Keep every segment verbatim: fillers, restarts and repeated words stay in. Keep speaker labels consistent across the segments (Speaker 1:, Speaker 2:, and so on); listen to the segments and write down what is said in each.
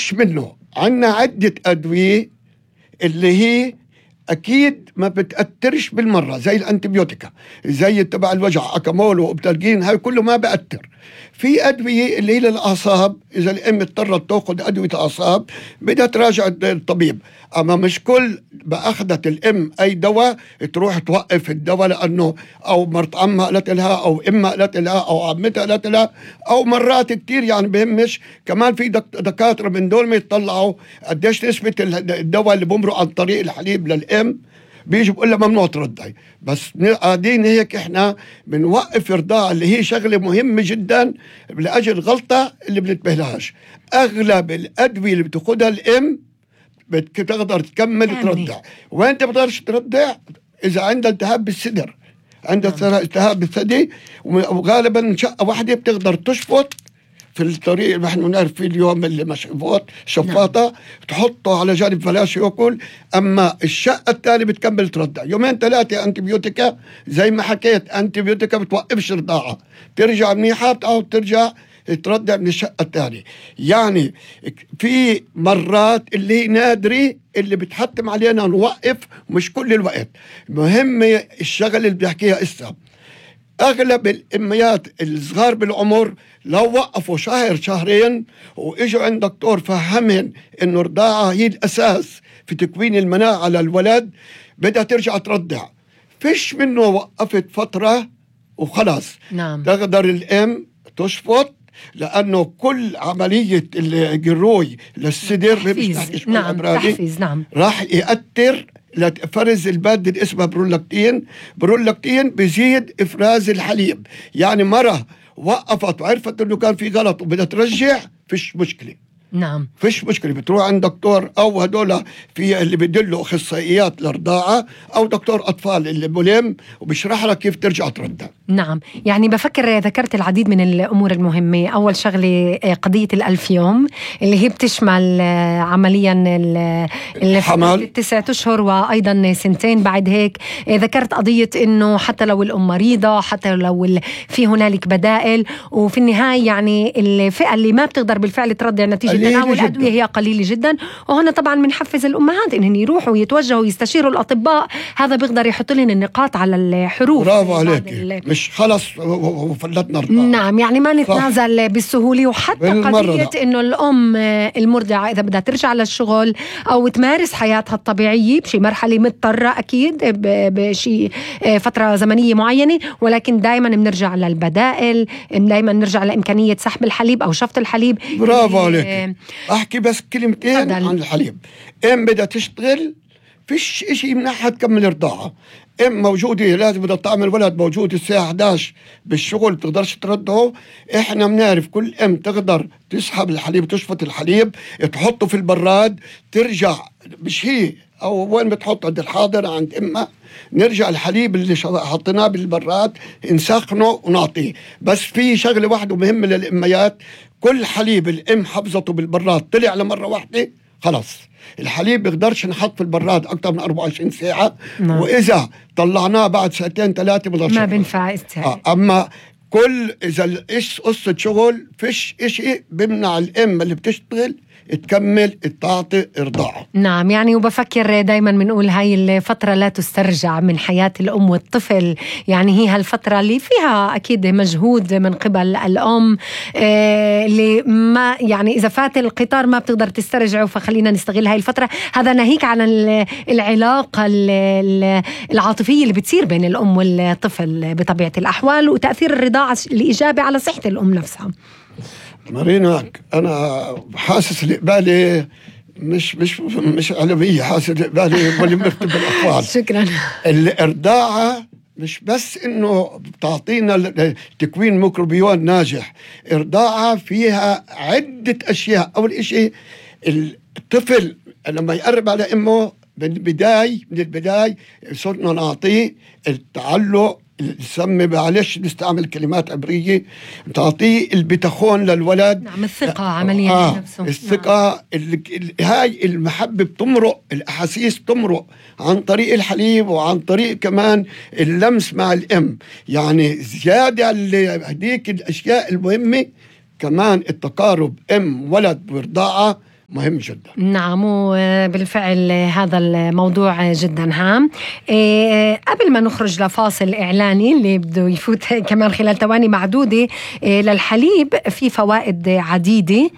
Speaker 1: فيش منه. عنا عدة أدوية اللي هي أكيد ما بتأثرش بالمرة، زي الأنتيبيوتيكا، زي تبع الوجع أكامول وأبتالجين، هاي كله ما بأثر. في أدوية اللي هي للأعصاب، إذا الأم اضطرت تأخذ أدوية أعصاب بدها تراجع الطبيب. أما مش كل بأخذت الأم أي دواء تروح توقف الدواء لأنه أو مرت عمها قالت لها أو إمها قالت لها أو عمتها قالت لها، أو مرات كتير يعني بهمش كمان في دكاترة من دول ما يطلعوا قديش نسبة الدواء اللي بمرق عن طريق الحليب للأم، بيجي بقول لها ممنوع ترضعي. بس قاعدين هيك احنا بنوقف رضاعة اللي هي شغلة مهمة جدا لأجل غلطة اللي بنتبهلهاش. أغلب الأدوية اللي بتاخدها الأم بتقدر تكمل ترضع. وين تقدرش ترضع؟ إذا عندها التهاب بالصدر، عندها التهاب بالثدي، وغالبا شقة واحدة بتقدر تشفط في الطريق اللي نحن بنعرف فيه اليوم اللي مشفوط شفاطة، نعم. تحطه على جانب بلاش ياكل. أما الشقة الثانية بتكمل ترضع يومين ثلاثة. أنتيبيوتيكا زي ما حكيت، أنتيبيوتيكا بتوقفش رضاعة، ترجع منيحة بتعود ترجع ترضع من الشقة الثانية. يعني في مرات اللي نادرة اللي بتحتم علينا نوقف، مش كل الوقت. مهمة الشغل اللي بيحكيها إسا، أغلب الأميات الصغار بالعمر لو وقفوا شهر شهرين وإجوا عند دكتور فهمهن إنه الرضاعة هي الأساس في تكوين المناعة للولد، بدها ترجع ترضع. فيش منه وقفت فترة وخلاص.
Speaker 2: نعم.
Speaker 1: تقدر الأم تشفط، لأنه كل عملية الجروي للصدر
Speaker 2: تحفيز. نعم. تحفيز. نعم.
Speaker 1: راح يأثر لفرز المادة اللي اسمها برولاكتين. برولاكتين بيزيد إفراز الحليب. يعني مرة وقفت وعرفت إنه كان في غلط وبدها ترجع، فيش مشكلة.
Speaker 2: نعم.
Speaker 1: فيش مشكلة، بتروح عند دكتور أو هدول في اللي بدلوا أخصائيات للرضاعة أو دكتور أطفال اللي ملم وبيشرح لك كيف ترجع ترضع.
Speaker 2: نعم. يعني بفكر ذكرت العديد من الأمور المهمة. أول شغلة قضية الألف يوم اللي هي بتشمل عمليا
Speaker 1: الحمل
Speaker 2: تسعة أشهر وأيضا سنتين بعد هيك. ذكرت قضية إنه حتى لو الأم مريضة، حتى لو في هنالك بدائل، وفي النهاية يعني الفئة اللي ما بتقدر بالفعل ترضع نتيجة تناول الأدوية هي قليلة جدا. وهنا طبعا بنحفز الأمهات إنهم يروحوا ويتوجهوا ويستشيروا الأطباء، هذا بيقدر يحط لهم النقاط على الحروف.
Speaker 1: برافو عليك، مش خلص وفلتنا رضاعة.
Speaker 2: نعم. يعني ما نتنازل صح. بالسهولة. وحتى قضية إنه الأم المرضعة إذا بدها ترجع للشغل أو تمارس حياتها الطبيعية بشي مرحلة مضطرة أكيد بشي فترة زمنية معينة، ولكن دايما بنرجع للبدائل، دايما نرجع لإمكانية سحب الحليب أو شفط الحليب.
Speaker 1: برافو عليك. أحكي بس كلمتين عن الحليب. إم بدها تشتغل، فيش إشي يمنعها تكمل رضاعة. إم موجودة لازم بدها تعمل ولد موجود الساعة إحدى عشر بالشغل بتقدرش ترضعه. إحنا بنعرف كل إم تقدر تسحب الحليب، تشفط الحليب، تحطه في البراد، ترجع مش هي أو وين بتحط عند الحاضر عند إمها، نرجع الحليب اللي حطيناه بالبراد نسخنه ونعطيه. بس في شغلة واحدة مهمة للأميات، كل حليب الأم حفظته بالبراد طلع لمرة واحدة خلاص الحليب بيقدرش نحط في البراد أكتر من أربعة وعشرين ساعة. نعم. وإذا طلعناه بعد ساعتين ثلاثة
Speaker 2: ما بنفع.
Speaker 1: آه. أما كل إذا إيش قصة شغل، فيش إشي بمنع الأم اللي بتشتغل تكمل تعطي إرضاعه.
Speaker 2: نعم. يعني وبفكر دايما بنقول هاي الفترة لا تسترجع من حياة الأم والطفل. يعني هي هالفترة اللي فيها أكيد مجهود من قبل الأم، آه اللي ما يعني إذا فات القطار ما بتقدر تسترجعه، فخلينا نستغل هاي الفترة. هذا ناهيك عن العلاقة العاطفية اللي بتصير بين الأم والطفل بطبيعة الأحوال، وتأثير الرضاعة الإيجابي على صحة الأم نفسها.
Speaker 1: مارينا، أنا حاسس الإقبالي مش مش مش علمية، حاسس الإقبالي واللي مكتب الأطفال.
Speaker 2: شكرا.
Speaker 1: الإرضاعة مش بس إنه بتعطينا تكوين ميكروبيون ناجح، إرضاعة فيها عدة أشياء. أول إشي الطفل لما يقرب على أمه من البداية من البداية صرنا نعطيه التعلق، نسمي معلش نستعمل كلمات عبرية، تعطيه البتخون للولد.
Speaker 2: نعم. الثقة عمليا
Speaker 1: آه نفسه. الثقة. نعم. هاي المحبة بتمرق، الأحاسيس بتمرق عن طريق الحليب وعن طريق كمان اللمس مع الأم. يعني زيادة على هديك الأشياء المهمة كمان التقارب أم ولد برضاعة مهم جدا.
Speaker 2: نعم، وبالفعل هذا الموضوع جدا هام. إيه قبل ما نخرج لفاصل إعلاني اللي بده يفوت كمان خلال ثواني معدودة، إيه للحليب في فوائد عديدة،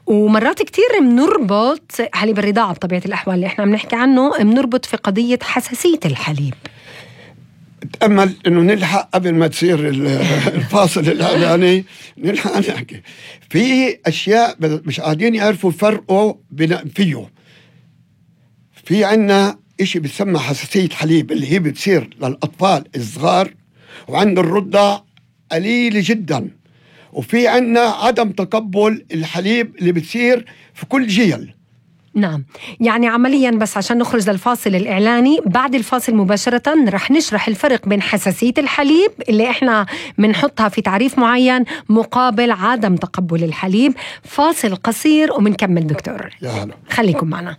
Speaker 2: ومرات كتير منربط حليب الرضاعة بطبيعة الأحوال اللي احنا بنحكي عنه منربط في قضية حساسية الحليب.
Speaker 1: تأمل إنه نلحق قبل ما تصير الفاصل الإعلاني نلحق نحكي في أشياء مش قاعدين يعرفوا فرقوا فيه. في عنا إشي بتسمى حساسية حليب اللي هي بتصير للأطفال الصغار وعند الرضع قليلة جدا، وفي عنا عدم تقبل الحليب اللي بتصير في كل جيل.
Speaker 2: نعم، يعني عمليا بس عشان نخرج للفاصل الإعلاني، بعد الفاصل مباشرة رح نشرح الفرق بين حساسية الحليب اللي احنا منحطها في تعريف معين مقابل عدم تقبل الحليب. فاصل قصير ومنكمل دكتور.
Speaker 1: يا هلا،
Speaker 2: خليكم معنا.